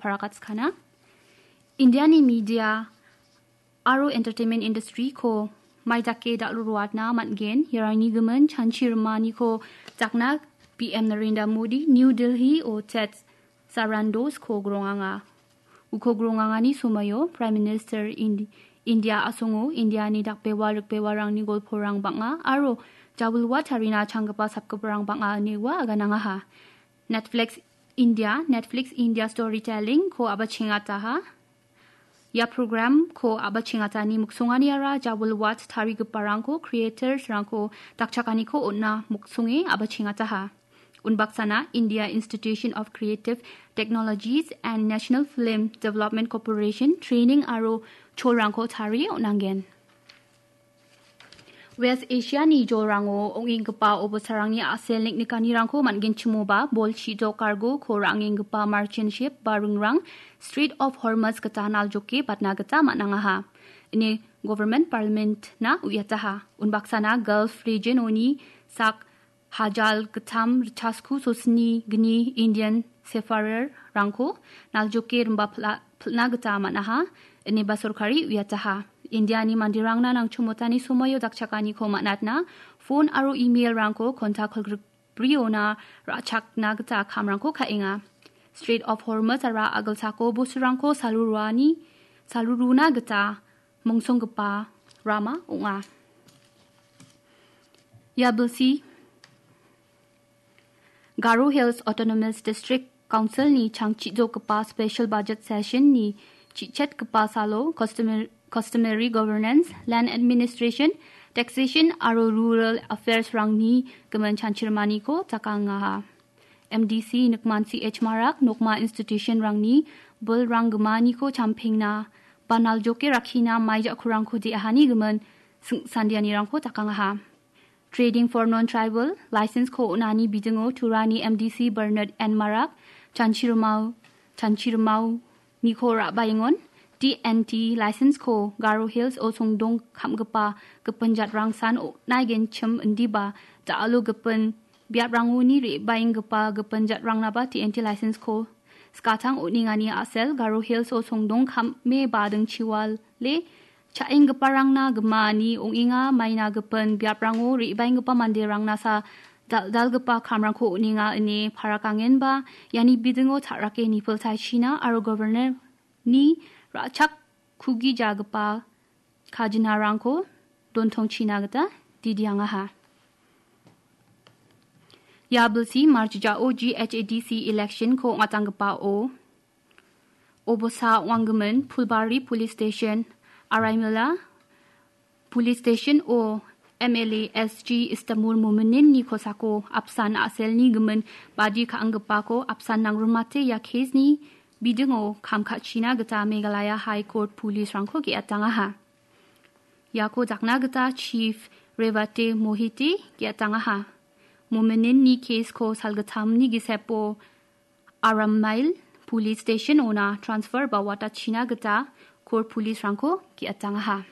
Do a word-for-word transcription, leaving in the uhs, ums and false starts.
parakatskana. Indiani media aro entertainment industry-ko maidake dal·roatna man·gen. Iarangni gimin chanchi rimaniko jakna P M Narendra Modi New Delhi-o Ted Sarandos-ko gronganga. Uko grongangani somoio Prime Minister Indi-, India asongo Indiani dakbewa rikbewarangni golporang bang·a aro jawilwa tarina changgipa sapgiparang bang·a ine ua aganangaha. Netflix India, Netflix India Storytelling-ko abachengataha. Ia program-ko abachengatani miksonganiara jawilwat tarigiparangko, creators-rangko dakchakaniko on·a miksonge abachengataha. Unbaksana India Institution of Creative Technologies and National Film Development Corporation training aro cholrangko tarie on·angen. West Asia-ni jolrango ong·enggipa obosarangni a·sel niknikanirangko man·genchimoba, bol chidok kargo ko ra·angenggipa merchant ship ba ringrang Strait of Hormuz gita naljoke batna gita man·angaha. Ine government parliament-na uiataha. Unbaksana Gulf region-oni sak hajal gittam ritchasku sosni gni Indian seafarer-rangko naljoke rimba pil·a-, pil·na gita man·aha, ineba sorkari uiataha. Indiani manderangna nangchomotani somoio dakchakaniko man·atna phone aro email-rangko kontak kolgrikbriona ra·chakna gita kamrangko ka·enga. Strait of Hormuz-ara agilsako bosturangko saluruani, saluruna gita mongsonggipa rama ong·a. Ia bilsi Garo Hills Autonomous District Council-ni changchijokgipa special budget session-ni chichetgipa salo customer-, customary governance, land administration, taxation aro rural affairs-rangni gimin chanchirimaniko jakangaha. M D C Nikman C H Marak nokma institution-rangni bilrang gimaniko champengna, ba naljoke rakkina mai ja·kurangko de·ahani gimin sing-, sandianirangko jakangaha. Trading for Non-Tribal license-ko on·ani bidingo Turani M D C Bernard N Marak, Chanchirimau, Chanchirimau Niko Ra·baengon, T N T license-ko Garo Hills-o songdong kam·gipa gipin jatrangsan o-, naigenchim indiba, da·alo gipin biaprangoni re·baenggipa gipin jatrangnaba T N T license-ko skatang on·engani a·sel Garo Hills-o songdong kame badingchiwale cha·enggiparangna gimani ong·enga, maina gipin biaprango re·baenggipa manderangna sa dal·dalgipa kamrangko on·enga ine parakangenba iani bidingo ta·rake nipiltaichina aro governor-ni ra·chak kugijagipa kajinarangko dontongchina gita didiangaha. Ia bilsi March jao G H A D C election-ko ong·atanggipao obosa ong·anggimin Phulbari Police Station, Araimila Police Station-o M L A S G Istamul Momininni kosako apsan a·selni gimin badi ka·anggipako apsan nangrimate ia case-ni bidingo kam ka·china gita Meghalaya High Court Police-rangko ge·atangaha. Iako jakna gita Chief Revate Mohite ge·atangaha. Momininni case-ko salgittamni gisepo Arammail Police Station-ona transfer ba watachina gita court police-rangko ge·atangaha.